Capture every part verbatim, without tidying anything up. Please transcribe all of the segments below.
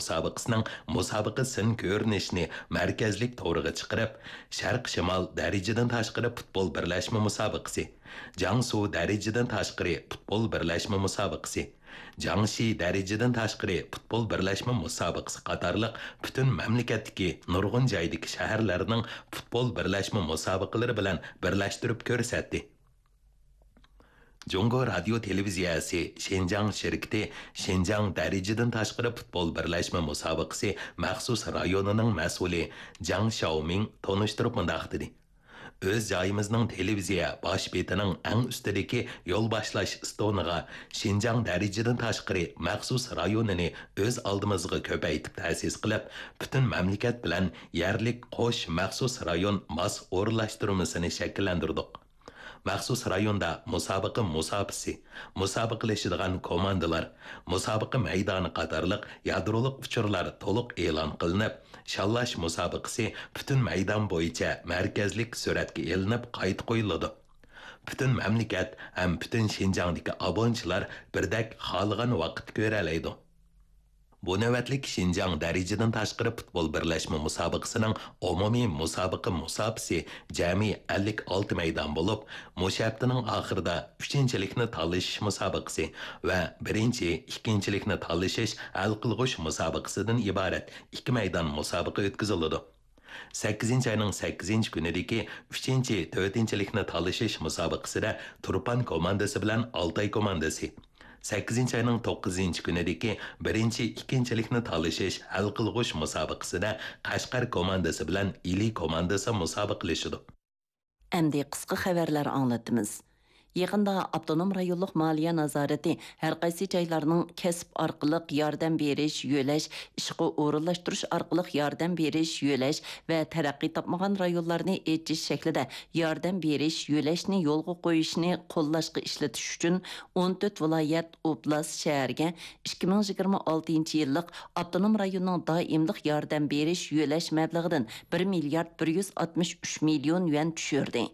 مۇسابىقىسىنىڭ مۇسابىقە سىن كۆرۈنۈشىنى مەركەزلىك تورىغا چىقىرىپ، شەرق شىمال دەرىجىدىن تاشقىرى پۇتبول بىرلەشمە مۇسابىقىسى، جياڭسۇ دەرىجىدىن تاشقىرى پۇتبول بىرلەشمە مۇسابىقىسى، جياڭشى دەرىجىدىن تاشقىرى پۇتبول بىرلەشمە مۇسابىقىسى قاتارلىق پۈتۈن مەملىكەتتىكى نۇرغۇن جايدىكى شەھەرلەرنىڭ پۇتبول بىرلەشمە مۇسابىقىلىرى بىلەن بىرلەشتۈرۈپ كۆرسەتتى. جۇڭگو رادىيو تېلېۋىزىيەسى شىنجاڭ شىركىتى شىنجاڭ دەرىجىدىن تاشقىرى پۇتبول بىرلەشمە مۇسابىقىسى مەخسۇس رايونىنىڭ مەسئۇلى جاڭ شياۋمىڭ تونۇشتۇرۇپ مۇنداق دېدى: ئۆز جايىمىزنىڭ تېلېۋىزىيە باش بېتىنىڭ ئەڭ ئۈستىدىكى يول باشلاش ئىستونىغا شىنجاڭ دەرىجىدىن تاشقىرى مەخسۇس رايونىنى ئۆز ئالدىمىزغا كۆپەيتىپ تەسىس قىلىپ، پۈتۈن مەملىكەت بىلەن يەرلىك قوش مەخسۇس رايون ماس ئورۇنلاشتۇرمىسىنى شەكىللەندۈردۇق. مەخسۇس رايوندا مۇسابىقە مۇساپىسى، مۇسابىقىلىشىدىغان كوماندىلار، مۇسابىقە مەيدانى قاتارلىق يادرولۇق ئۇچۇرلار تولۇق ئېلان قىلىنىپ، شاللاش مۇسابىقىسى پۈتۈن مەيدان بويىچە مەركەزلىك سۈرەتكە ئېلىنىپ قايتا قويۇلىدۇ. پۈتۈن مەملىكەت ھەم پۈتۈن شىنجاڭدىكى ئابۇنىچىلار بىردەك خالىغان ۋاقىتتا كۆرەلەيدۇ. بۇ نۆۋەتلىك شىنجاڭ دەرىجىدىن تاشقىرى پۇتبول بىرلەشمە مۇسابىقىسىنىڭ ئومۇمىي مۇسابىقە مۇساپىسى جەمئىي ئەللىك ئالتە مەيدان بولۇپ، مۇشۇ ھەپتىنىڭ ئاخىرىدا ئۈچىنچىلىكنى تالىشىش مۇسابىقىسى ۋە بىرىنچى، ئىككىنچىلىكنى تالىشىش ھەل قىلغۇچ مۇسابىقىسىدىن ئىبارەت ئىككى مەيدان مۇسابىقە ئۆتكۈزۈلىدۇ. سەككىزىنچى ئاينىڭ سەككىزىنچى كۈنىدىكى ئۈچىنچى، تۆتىنچىلىكنى تالىشىش مۇسابىقىسىدە تۇرپان كوماندىسى بىلەن ئالتاي كوماندىسى، سەككىزىنچى ئاينىڭ توققۇزىنچى كۈنىدىكى بىرىنچى، ئىككىنچىلىكنى تالىشىش ھەل قىلغۇچ مۇسابىقىسىدە قەشقەر كوماندىسى بىلەن ئىلى كوماندىسى مۇسابىقىلىشىدۇ. ئەمدى قىسقا خەۋەرلەر ئاڭلىتىمىز. يېقىندا ئاپتونوم رايونلۇق مالىيە نازارىتى ھەرقايسى جايلارنىڭ كەسىپ ئارقىلىق ياردەم بېرىش، يۆلەش، ئىشقا ئورۇنلاشتۇرۇش ئارقىلىق ياردەم بېرىش، يۆلەش ۋە تەرەققىي تاپمىغان رايونلارنى ئېچىش شەكلىدە ياردەم بېرىش، يۆلەشنى يولغا قويۇشنى قوللاشقا ئىشلىتىش ئۈچۈن ئون تۆت ۋىلايەت، ئوبلاست، شەھەرگە ئىككى مىڭ يىگىرمە ئالتىنچى يىللىق ئاپتونوم رايوننىڭ دائىملىق ياردەم بېرىش، يۆلەش مەبلىغىدىن بىر مىليارد بىر يۈز ئاتمىش ئۈچ مىليون يۈەن چۈشۈردى.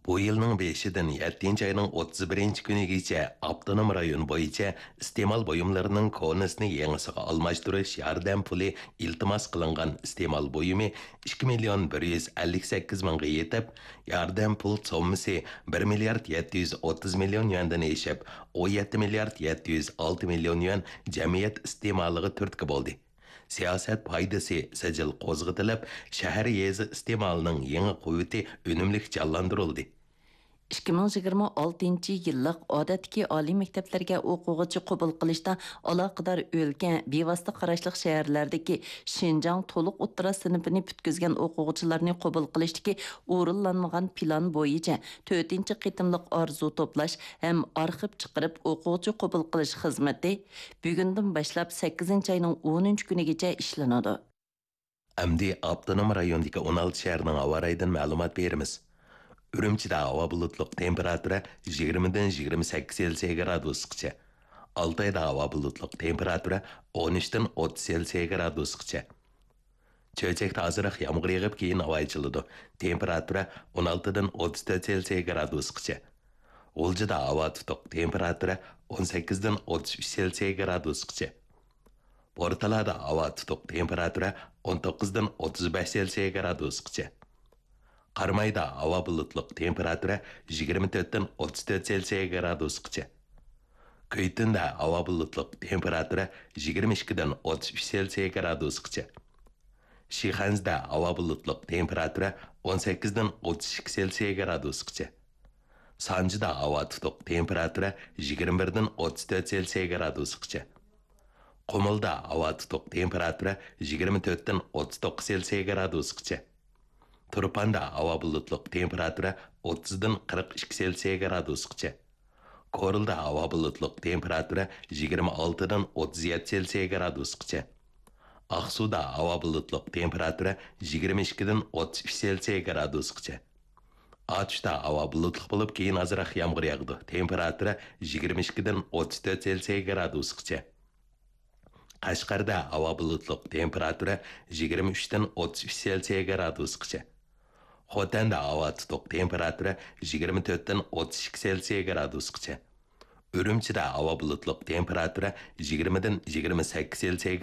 بۇ يىلنىڭ بېشىدىن يەتتىنچى ئاينىڭ ئوتتۇز بىرىنچى كۈنىگىچە ئاپتونوم رايون بويىچە ئىستېمال بۇيۇملىرىنىڭ كونىسىنى يېڭىسىغا ئالماشتۇرۇش ياردەم پۇلى ئىلتىماس قىلىنغان ئىستېمال بۇيۇمى ئىككى مىليون بىر يۈز ئەللىك سەككىز مىڭغا يېتىپ، ياردەم پۇل سوممىسى بىر مىليارد يەتتە يۈز ئوتتۇز مىليون يۈەندىن ئېشىپ، ئون يەتتە مىليارد يەتتە يۈز ئالتە مىليون يۈەن جەمئىيەت ئىستېمالىغا تۈرتكە بولدى. سىياسەت پايدىسى سىجىل قوزغىتىلىپ، شەھەر، يېزا ئىستېمالىنىڭ يېڭى قۇۋۋىتى ئۈنۈملۈك جانلاندۇرۇلدى. ئىككى مىڭ يىگىرمە ئالتىنچى يىللىق ئادەتتىكى ئالىي مەكتەپلەرگە ئوقۇغۇچى قوبۇل قىلىشتا ئالاقىدار ئۆلكە بىۋاسىتە قاراشلىق شەھەرلەردىكى شىنجاڭ تولۇق ئوتتۇرا سىنىپىنى پۈتكۈزگەن ئوقۇغۇچىلارنى قوبۇل قىلىشتىكى ئورۇنلانمىغان پىلان بويىچە تۆتىنچى قېتىملىق ئارزۇ توپلاش ھەم ئارخىپ چىقىرىپ ئوقۇغۇچى قوبۇل قىلىش خىزمىتى بۈگۈندىن باشلاپ سەككىزىنچى ئاينىڭ ئونىنچى كۈنىگىچە ئىشلىنىدۇ. ئەمدى ئاپتونوم رايوندىكى ئون ئالتە شەھەرنىڭ ھاۋا رايىدىن مەلۇمات بېرىمىز. ئۈرۈمچىدە ھاۋا بۇلۇتلۇق، تېمپېراتۇرا يىگىرمىدىن يىگىرمە سەككىز سېلسىيە گرادۇسقىچە. ئالتايدا ھاۋا بۇلۇتلۇق، تېمپېراتۇرا ئون ئۈچتىن ئوتتۇز سېلسىيە گرادۇسقىچە. چۆچەكتە ئازراق يامغۇر يېغىپ، كېيىن ھاۋا ئېچىلىدۇ. تېمپېراتۇرا ئون ئالتىدىن ئوتتۇز تۆت سېلسىيە گرادۇسقىچە. غۇلجىدا ھاۋا تۇتۇق، تېمپېراتۇرا ئون سەككىزدىن ئوتتۇز ئۈچ سېلسىيە گرادۇسقىچە. بورتالادا ھاۋا تۇتۇق، تېمپېراتۇرا ئون توققۇزدىن ئوتتۇز بەش سېلسىيە گرادۇسقىچە. قارامايدا ھاۋا بۇلۇتلۇق، تېمپېراتۇرا يىگىرمە تۆتتىن ئوتتۇز تۆت سېلسىيە گرادۇسقىچە. كۈيتۈندە ھاۋا بۇلۇتلۇق، تېمپېراتۇرا يىگىرمە ئىككىدىن ئوتتۇز ئۈچ سېلسىيە گرادۇسقىچە. شىخەنزىدە ھاۋا بۇلۇتلۇق، تېمپېراتۇرا ئون سەككىزدىن ئوتتۇز ئىككى سېلسىيە گرادۇسقىچە. سانجىدا ھاۋا تۇتۇق، تېمپېراتۇرا يىگىرمە بىردىن ئوتتۇز تۆت سېلسىيە گرادۇسقىچە. قۇمۇلدا ھاۋا تۇتۇق، تېمپېراتۇرا يىگىرمە تۆتتىن ئوتتۇز توققۇز سېلسىيە گرادۇسقىچە. تۇرپاندا ھاۋا بۇلۇتلۇق، تېمپېراتۇرا ئوتتۇزدىن قىرىق ئىككى سېلسىيە گرادۇسقىچە. كورلىدا ھاۋا بۇلۇتلۇق، تېمپېراتۇرا يىگىرمە ئالتىدىن ئوتتۇز يەتتە سېلسىيە گرادۇسقىچە. ئاقسۇدا ھاۋا بۇلۇتلۇق، تېمپېراتۇرا يىگىرمە ئىككىدىن ئوتتۇز ئۈچ سېلسىيە گرادۇسقىچە. ئاتۇشتا ھاۋا بۇلۇتلۇق بولۇپ، كېيىن ئازراق يامغۇر ياغىدۇ. تېمپېراتۇرا يىگىرمە ئىككىدىن ئوتتۇز تۆت سېلسىيە گرادۇسقىچە. قەشقەردە ھاۋا بۇلۇتلۇق، تېمپېراتۇرا يىگىرمە ئۈچتىن ئوتتۇز ئۈچ سېلسىيە گرادۇسقىچە. خوتەندە ھاۋا تۇتۇق، تېمپېراتۇرا يىگىرمە تۆتتىن ئوتتۇز ئىككى سېلسىيە گرادۇسقىچە. ئۈرۈمچىدە ھاۋا بۇلۇتلۇق، تېمپېراتۇرا يىگىرمىدىن يىگىرمە سەككىز سېلسىيە